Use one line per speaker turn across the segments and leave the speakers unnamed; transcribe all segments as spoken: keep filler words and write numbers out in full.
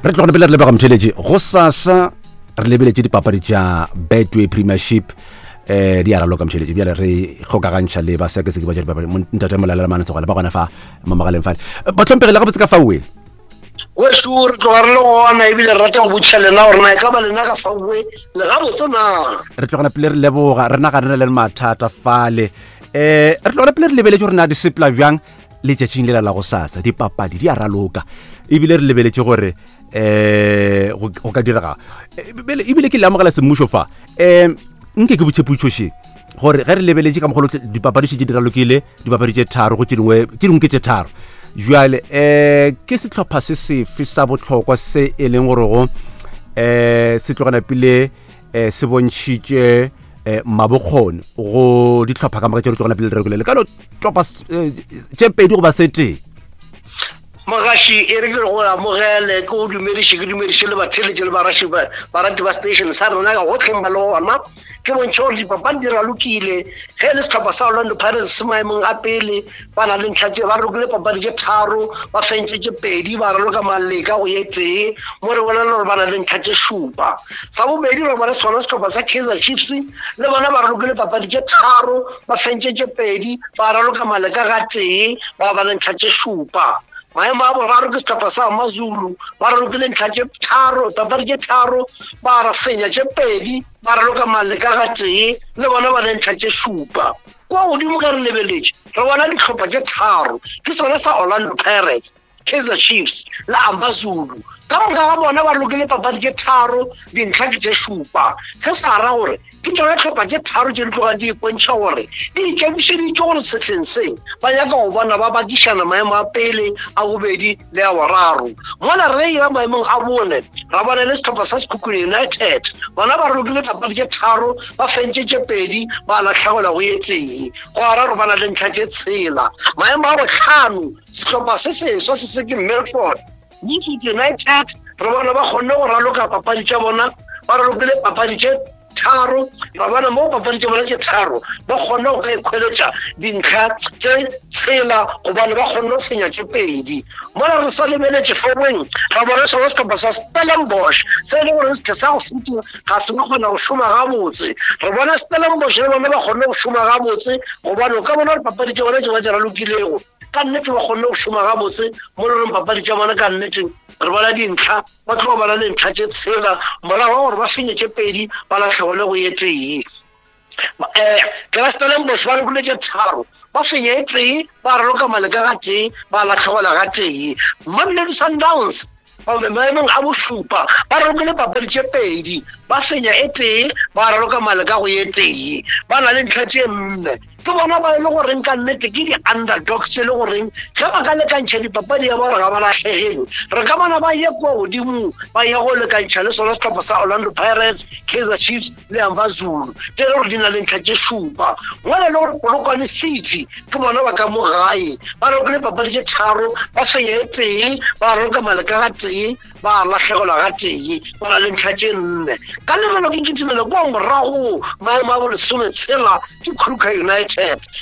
Re tlogone pele re lebega motheletši go sasa re lebeletše dipapadi tša Betway Premiership eh di a raloka motheletši. Bjale re kgokagantšha le basekaseki ba tša dipapadi ntate Molalela Manetsegwale ba gona fa mo mogaleng fale. Bahlomphegi le gabotse ka faoe?
Wešu re tloga re le gona ebile re rata go botšiša lena gore na e ka ba lena ka faoe le gabotse na?
Re tlogana pele re leboga re naga re na le mathata fale. Eh re tlogana pele re lebeletše gore na di sepela bjang letšatšing lela la go sasa dipapadi di a raloka ebile re lebeletše gore eh go ka direga ebile ke le amogela semmušo fa. Eh nke ke botše potšoše gore ge re lebeletše ka mogolo dipapadi še di ralokile dipapadi tše tharo go tše dingwe tše dingwe ke tše tharo jwale eh ke sehlopha se sefe sa bohlokwa se e leng gore go eh se tlogana pele eh se bontšhitše eh mabokgoni go dihlopha ka moka tše re tlogana pele re ralokile ka no topa tše pedi goba se tee?
Mogaši e re ke go amogele ke go dumediše ke dumediše le batheletše le baraši barati ba station sa rena ka gotlheng ba le gona. Ke bontšhe gore dipapadi di ralokile ge e le sehlopha sa Orlando Pirates se maemong a pele ba na le ntlha tše ba ralokile papadi tše tharo ba fentše tše pedi ba raloka maleka go ye tee mo re bolela gore ba na le ntlha tše šupa. Sa bobedi re bona sona sehlopha sa Kaizer Chiefs le bona ba ralokile papadi tše tharo ba fentše tše pedi ba raloka maleka ga tee ba ba le ntlha tše šupa. Maemo a boraro ke sehlopha sa Amazulu ba ralokile ntlha tše tharo papadi tše tharo ba ra fenya tše pedi ba raloka maleka ga tee le bona ba le ntlha tše šupa. Kwa godimo ge re lebeletše re bona dihlopha tše tharo ke sona sa Orlando Pirates, Kaizer Chiefs le Amazulu. Ka moka ga bona ba ralokile papadi tše tharo dintlha ke tše šupa. Se sa ra gore ke tšona tlhopha tše tharo tše di tlogang di ipontšha gore di ikemišeditše gore sehleng se ba nyaka go bona ba bakišana maemo a pele a bobedi le a boraro. Mola re ya maemong a bone ra bona le sehlopha sa Sekhukhune United bona ba ralokile papadi tše tharo ba fentše tše pedi ba lahlegelwa go ye tee go araro ba na le ntlha tše tshela. Maemo a bohlano sehlopha se seswa se se ke Milford Milford United re bona ba kgonne go raloka papadi tša bona ba ralokile papadi tše tharo ra bona mo papadi tše bona tše tharo ba kgonne go ka ikhweletša dintlha tše tshela gobane ba kgonne go fenya tše pedi. Mola re sa lebeletše forweng ra bona sona sehlopha sa Stellenbosch se e le gore se sa go feta ga se ba kgona go šoma gabotse. Re bona Stellenbosch le bona ba kgonne go šoma gabotse gobane o ka bona gore papadi tše bona tše ba di ralokilego ka nnete ba kgonne go šoma gabotse mo le goreng papadi tša bona ka nnete re bona dintlha ba tlo ba le ntlha tše tshela morago ga gore ba fenye tše pedi ba lahlegelwe go ye tee. Eh Stellenbosch ba ralokile tše tharo ba fenya e tee ba raloka maleka ga tee ba lahlegelwa ga tee. Mamelodi Sundowns maemong a bošupa ba ralokile papadi tše pedi ba fenya e tee ba raloka maleka go ye tee ba na le ntlha tše nne. Ke bona ba e le goreng ka nnete ke di-underdogs tše le goreng ge ba ka lekantšha dipapadi ya ba gore ga ba lahlegelwe re ka bona ba ye kua godimo ba ye go lekantšha le sona sehlopha sa Orlando Pirates, Kaizer Chiefs le Amazulu tše le gore di na le ntlha tše šupa. Mola le gore Polokwane City ke bona ba ka mo gae ba ralokile papadi tše tharo ba fenya e tee ba raloka maleka ga tee ba lahlegelwa ga tee ba na le ntlha tše nne. Ka lebelo ke kitimela kua morago maemo a bolesometshela ke Kruger United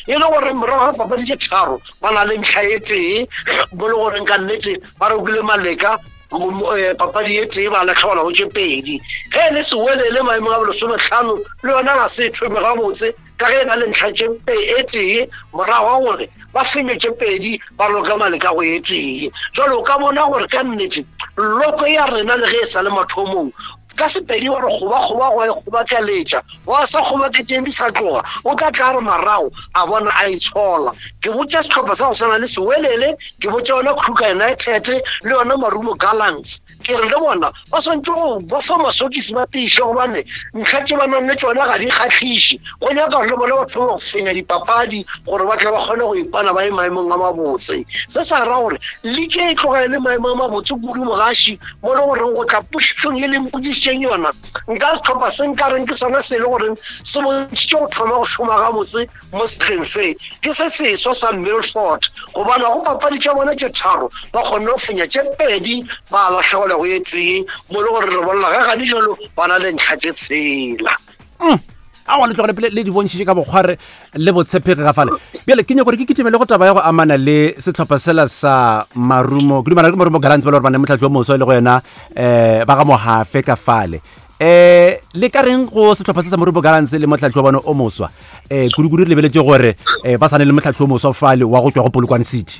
e le gore morago ga papadi tše tharo ba na le ntlha e tee mo le goreng ka nnete ba ralokile maleka papadi e tee ba lahlegelwa go tše pedi. Ge e le Sewelele maemong a bolesomehlano le yona ga se thome gabotse ka ge e na le ntlha tše e tee morago ga gore ba fenye tše pedi ba raloka maleka go ye tee. Jwale o ka bona gore ka nnete loko ya rena le ge e sa le mathomong ka sepedi wa re kgoba-kgoba go e kgobakeletša wa sa kgobaketšeng di sa tloga o tla tla re marago a bona a itshola. Ke botša sehlopha sa go swana le Sewelele ke botša yona Kruger United le yona Marumo Gallants ke re le bona ba swantše go ba fa masokisi ba tiiše gobane ntlha tše ba nang le tšona ga di kgahliše go nyaka gore le bona ba thome go fenya dipapadi gore ba tle ba kgone go ipana ba ye maemong a mabotse. Se sa ra gore league e tloga e le maemo a mabotse kudu mogaši mo le goreng go tla pošišong e leng pošišeng yona nka sehlopha se nkareng ke sona se e le goreng se bontšhitše go thoma go šoma gabotse mo sehleng se ke se seswa sa Milford gobane go papadi tša bona tše tharo ba kgonne go fenya tše pedi ba lahlegelwa go ye tee mo le gore re bolela ga gane jalo ba na le ntlha tše tshela.
Aowa, le tlogele pele le di bontšhitše ka bokgware le botshepegi ga fale. Bjale ke nyako gore ke kitimele go taba ya go amana le sehlopha sela sa Marumo, ke dumela ke Marumo Gallants ba le gore ba ne motlhatli o moswa e le go yena um ba ga Mohafe ka fale. Um le ka reng go sehlopha se sa Marumo Gallants le motlhatli wa bone o moswa? Um kudu-kudu re lebeletše gore um ba sane le motlhatli o moswa fale wa go tšwa go Polokwane City.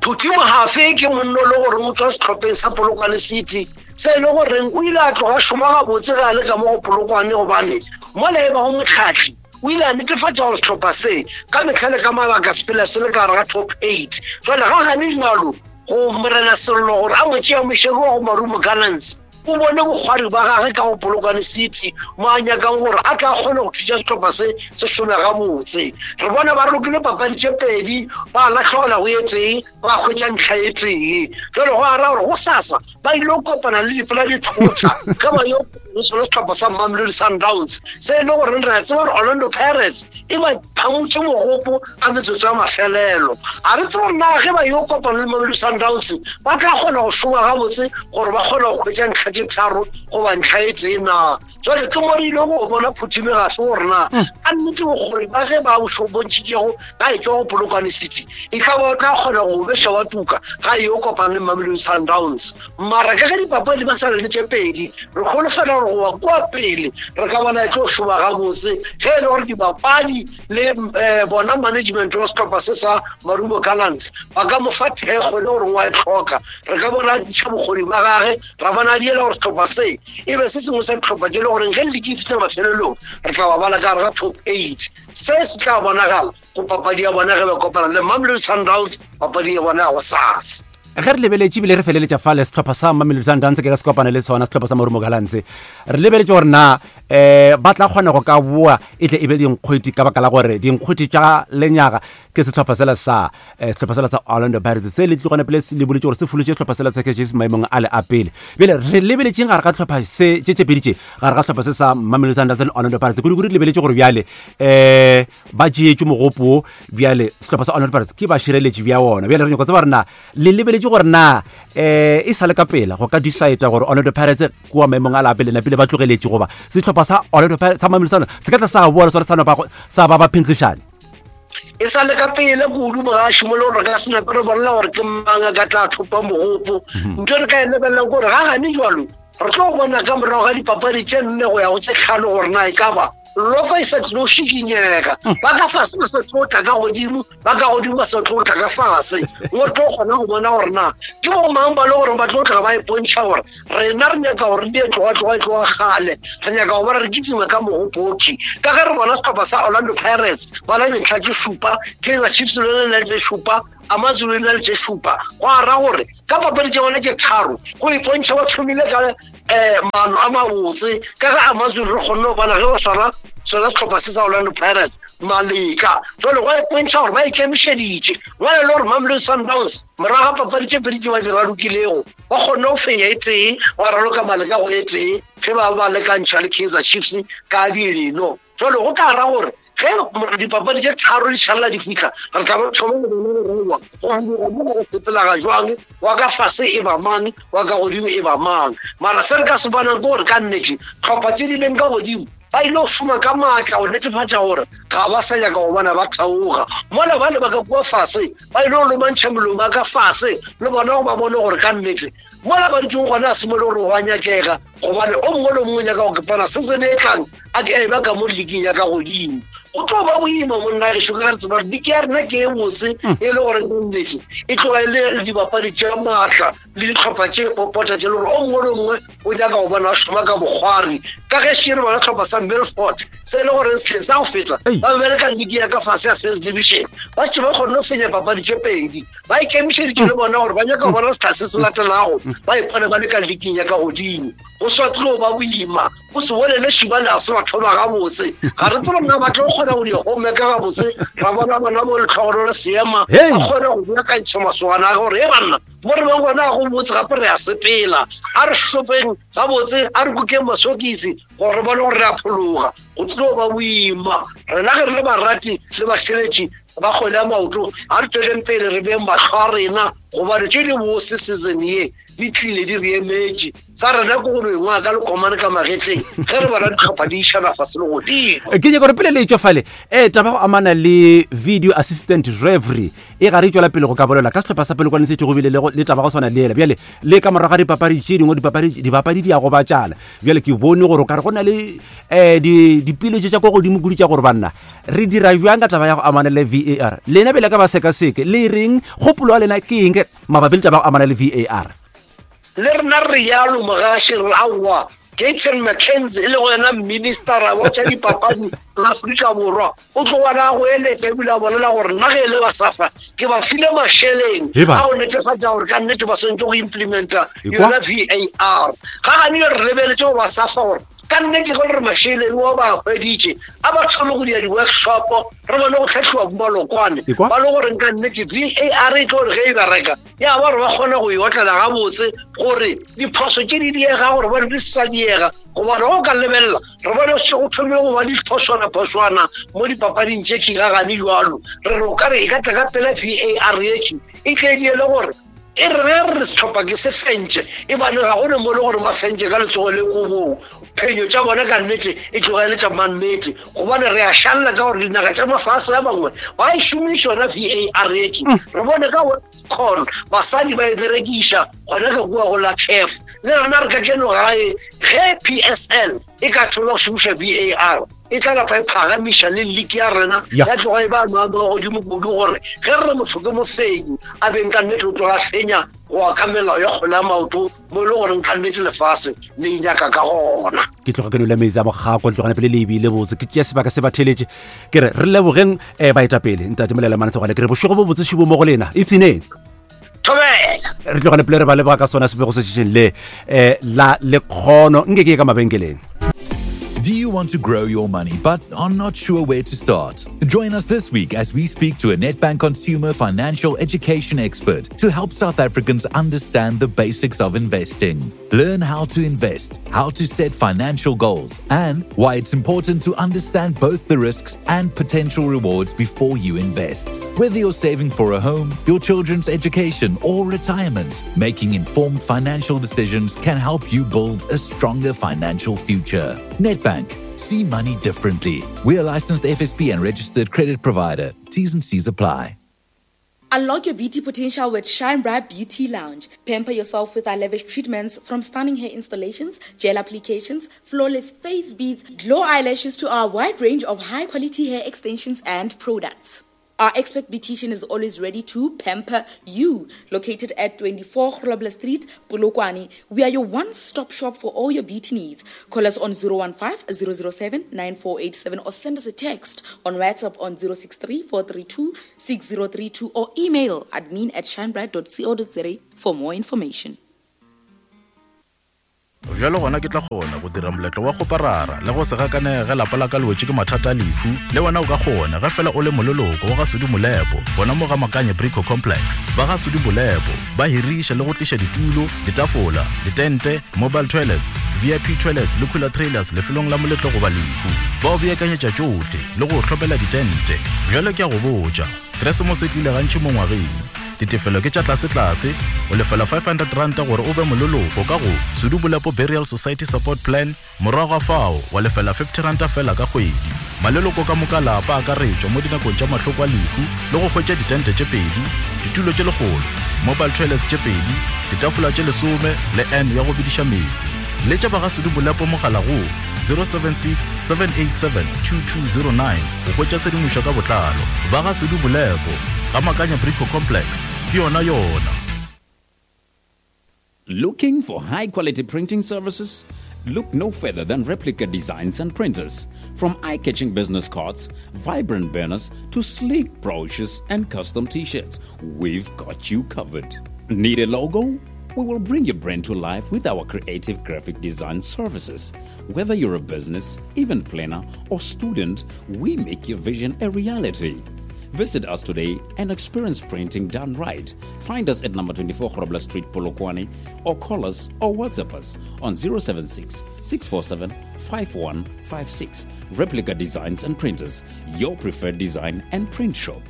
Phuthi Mohafe ke monno le gore o tswa setlhopheng sa Polokwane City, se e le goreng o ile a tloga šoma gabotse ge a le ka mo go Polokwane, gobane mola e bago motlhatli o ile a netefatša gore setlhopha se ka mehla le ka mabaka se phela se le ka gare ga top eight. Jwale ga gane jalo go Morena Sello gore a mo tšea mošego wa go Marumo Gallants, o bone bokgwari ba gage ka go Polokwane City mo a nyakang gore a tla kgone go thuša setlhopha se se šome gabotse. Re bona ba rokile papadi tše pedi, ba latlhegela go e tee, ba hwetša ntlha e tee. Jwale go ara gore go sasa ba ile go kopana le dipela dithotha ge ba yo le sehlopha sa Mamelodi Sundowns, se e le goreng re a tseba gore Orlando Pirates e ba phamotše mogopo ka metsotso ya mafelelo. A re tsebe gore na ge ba yo kopana le Mamelodi Sundowns ba tla kgona go šoma gabotse gore ba kgone go hwetša ntlha tše tharo goba ntlha e tee na. Jwale ke mo re ile go bona Phuthi Mohafe gore na ka nnete bokgoni ba ge ba bo bontšhitšego ga e tšwa go Polokwane City e ka ba o tla kgona go beša wa tuka ga e yo kopana le Mamelodi Sundowns. Mara ka ge dipapadi ba sa le tše pedi, re kgolofela gore go wa kua pele re ka bona e tlo šoma gabotse ge e le gore dibapadi le um bona management wa sehlopha se sa Marumo Gallants ba ka mo fa thekgo e le gore wa e tlhoka. Re ka bona a tliša bokgoni ba gage, ra bona a diela gore sehlopha se e be se sengwe sa dihlopha tše le goreng ge league e fihla mafelelong re tla ba bala ka gare ga top eight. Se se tla bonagala go papadi ya bona ge ba kopana le Mamelodi Sundowns, papadi ya bona ya go sasa.
Ge re lebeletše ebile re feleletša fale sehlopha sa Mamelodi Sundowns ke ka se kopane le sona sehlopha sa Marumo Gallants, re lebeletše gore na um ba tla kgona go ka boa e tle e be dinkgweti ka baka la gore dinkgweti tša lenyaga ke sehlopha sela sa eh, sehlopha sela sa Orlando Pirates se le tlogane pele le boletse gore se folotše sehlopha sela sa Kaizer Chiefs maemong a le a pele. Bjale re lebeletšeng gare ga tlhopha se tše tše pedi tše, gare ga sehlopha se sa Mamelodi Sundowns le Orlando Pirates, kudu-kudu re lebeletše gore bjale um ba tšeetše mogopo wo, bjale sehlopha sa Orlando Pirates ke bašireletši bja wona. Bjale re nyako tseba gore na le lebeletše gore na um e sa le ka pela go ka decide gore Orlando Pirates kua maemong a la pele napile ba tlogeletše, goba sehlopha sa Orlando Pirates sa Mamelodi Sundowns se ka tla sa boa le sona sa nopa sa ba ba phenkgišane?
E sa le ka pele kudu mogaši mo le gore re ka se nape re bolela gore ke mang a ka tla thopa mogopo. Ntho re ka e lebelelang ke gore ga gane jwalo re tlo bona ka morago ga dipapadi tše nne go ya go tše tlhano gore na e ka ba loko e sa tlo šikinyega, ba ka fase ba sa tlo tla ka godimo, ba ka godimo ba sa tlo tla ka fase. Mo tlo kgona go bona gore na ke bo mang ba le gore ba tlo tla ba ipontšha gore rena re nyaka gore di tloga tloga tloga kgale, re nyaka go bona re kitima ka mogopoki. Ka ge re bona sehlopha sa Orlando Pirates ba na le dintlha tše šupa, Kaizer Chiefs le yona e na le tše šupa, Amazulu e na le tše šupa. Go ara gore ka papadi tša bona tše tharo go ipontšha ba thomile ka um maano a mabotse, ka ge Amazulu re kgonne go bona ge ba swara sona sehlopha se sa Orlando Pirates maleka. Jwale go ipontšha gore ba ikemišeditše ngwana le gore Mamelodi Sundowns morago ga papadi tše pedi tše ba di ralokilego ba kgonne go fenya e tee, ba raloka maleka go e tee ge ba ba lekantšha le Kaizer Chiefs ka dileno. Jwale go tla ra gore ge dipapadi tše tharo di šalela di fihla, re tla ba thoma go bona gore go go go sepela ga jwang, wa ka fase e ba mang, wa ka godimo e ba mang. Mara se re ka se bonang ke gore ka nnete tlhopha tše di leng ka godimo ba ile go šoma ka maatla go netefatša gore ga ba sa nyaka go bona ba theoga, mola ba le ba ka kua fase ba ile go lomantšha molomo a ka fase le bona go ba bone gore ka nnete mola ba dutseng gona a se mo le gore go a nyakega, gobane o mongwe le mongwe o nyaka go kepana season e tlang a ke e ba ka mo leagueng ya ka godimo. Go tlo ba boima monna gešo ka re tseba gore league ya rena ke e botse e le gore ka nnete e tloga e le dibapadi tša maatla le ditlhopha tše popota tše le gore o mongwe le mongwe o nyaka go bona a šoma ka bokgwari. Ka ge še re bona tlhopha sa Milford se e le gore sehleng sa go feta ba bereka league ya ka fase ya first division, ba tše ba kgonne go fenya papadi tše pedi, ba ikemišeditše le bona gore ba nyaka go bona setlha se se latelago ba ipone ba le ka leagueng ya ka godimo. Go sa tlo ba boima, go se bolele šiba le a se ba thoma gabotse, ga re tsebe na ba tlo kgona go di homeka gabotse, ra bona bona bo letlhogono le seema ba kgone go beakantšha masogana a gore e banna mo re beng gona go botse gape re a sepela, a re šopeng gabotse, a re kukeng masokisi gore re bone gore re a phologa. Go tlo ba boima rena ge re le barati le batheletši ba kgwele ya maoto ga re tsweleng pele re beng mahlo a rena gobane tše di bose season ye di tlile di re emetše sa rena ke go no engwa ka lekomane ka magetleng ge re bona ditlhopha di išana fase le godimo.
Ke nyaka gore pele le etswa fale um taba go amana le video assistant referee e ga re tswela pele go ka bolela ka sehlopha sa Polokwane City go bile le go- le taba go swana le ela bjale le ka morago ga dipapadi tše dingwe dipapadi dibapadi di ya go batšana bjale ke bone gore o ka re go na le um dipeeletšo tša ko godimo kudu tša gore banna re dira bjang ka taba ya go amana le V A R lena bele ka ba sekaseke le reng kgopolo ya lena ke eng mabapi le taba ya go amana le V A R?
Le rena re yalo mogaši re aowa Gayton McKenzie e le go yena ministera wa tša dipapadi la Afrika Borwa o tlo bona go eletša ebile a bolela gore nna ge e le ba SAFA ke ba file mašeleng
Eba.
a go netefatša gore ka nnete ba swantse go implementa
Ekwa?
yona V A R. Ga gane re lebeletse go ba SAFA gore ka nnete ge le re mašeleng wa ba hweditše a ba thome go dira di-workshop re bone go tlhatlhiwa bomalokwane
Ekwa?
ba le goreng ka nnete V A R e tlo gore ge e bereka ya ba gore ba kgone go e otlela gabotse gore diphoso tše di diega gore bone di sa diega gobane go ka lebelela re bone se go thomile go ba diphoswana-phoswana mo dipapading tše tšhigagane jalo re re o ka re e ka tla ka pela V A R etše e tle di ele gore e re ge re setlhopha ke se fentše e bane ga gone mo le gore ba fentše ka letsogo le kobong phenyo tša bona ka nnete e tlogele tša mannete gobane re a šalela ka gore dinaga tša mafase a mangwe ba e šomiša yona V A R etše re bone ka WAFCON basadi ba e berekiša gona ka kua go la CAF le rena re ka keno gae ge P S L e ka thoma go šomiša V A R e tla napa e phagamiša le league ya rena
Ya.
ya tloga e ba maemo a godimo kudu gore ge re re motho ke mofenyi a beng ka nnete o tloga fenya go ya ka melao ya kgwele ya maoto mo e le goreng ka nnete lefase le e nyaka ka gona.
Ke tloga ke nwele metsi a bogako tlogana pele le ebile botse ke tšea sebaka se ba theletše ke re re lebogeng um baetapele ntate Molelemane Segwale ke re bošego bo botse šibo mo go lena ipshineng
Thobela.
Re tlogane pele re ba leboga ka sona sebego se tšetšeng le um la lekgono nke ke ye ka mabenkeleng.
Do you want to grow your money but are not sure where to start? Join us this week as we speak to a Nedbank consumer financial education expert to help South Africans understand the basics of investing. Learn how to invest, how to set financial goals, and why it's important to understand both the risks and potential rewards before you invest. Whether you're saving for a home, your children's education, or retirement, making informed financial decisions can help you build a stronger financial future. Nedbank. See money differently. We are licensed F S P and registered credit provider. T's and C's apply.
Unlock your beauty potential with Shine Bright Beauty Lounge. Pamper yourself with our lavish treatments from stunning hair installations, gel applications, flawless face beads, glow eyelashes to our wide range of high-quality hair extensions and products. Our expert beautician is always ready to pamper you. Located at twenty-four Grobler Street, Polokwane, we are your one-stop shop for all your beauty needs. Call us on zero one five, zero zero seven, nine four eight seven or send us a text on WhatsApp on zero six three, four three two, six zero three two or email admin at shinebright dot co dot za for more information.
Bjalo gona ke tla kgona go dira moletlo wa kgoparara le go se gakanege ge lapa la ka le wetše ke mathata a lehu. Le wena o ka kgona ge fela o le moleloko wa ga Sudi Molepo gona mo ga Makanye Brico Complex. Ba ga Sudi Molepo ba hiriša le go tliša ditulo, ditafola, ditente, mobile toilets, V I P toilets le cooler trailers lefelong la moletlo goba lehu. Ba o beakanyetša tšohle le go o hlopela ditente. Bjalo ke a go botša, Keresemose e tlile gantši mo ngwageng. Ditefelo ke tša tlase-tlase, o lefela five hundred ranta gore o be moleloko ka go Sudi Molepo Burial Society Support Plan, morago ga fao wa lefela fifty ranta fela ka kgwedi. Maleloko ka moka lapa a akaretšwa mo dinakong tša mahloko a lehu le go hwetša ditente tše pedi, ditulo tše lekgolo, mobile toilets tše pedi, ditafola tše lesome le N ya go bediša meetse. Letša ba ga Sudi Molepo mogala go zero seven six, seven eight seven, two two zero nine go hwetša tshedimošo ka botlalo. Ba ga Sudi Molepo, ga Makanya Brico Complex, ke yona yona.
Looking for high-quality printing services? Look no further than Replica Designs and Printers. From eye-catching business cards, vibrant banners, to sleek brochures and custom t-shirts, we've got you covered. Need a logo? We will bring your brand to life with our creative graphic design services. Whether you're a business, event planner, or student, we make your vision a reality. Visit us today and experience printing done right. Find us at number twenty-four Grobler Street, Polokwane, or call us or WhatsApp us on zero seven six, six four seven, five one five six. Replica Designs and Printers, your preferred design and print shop.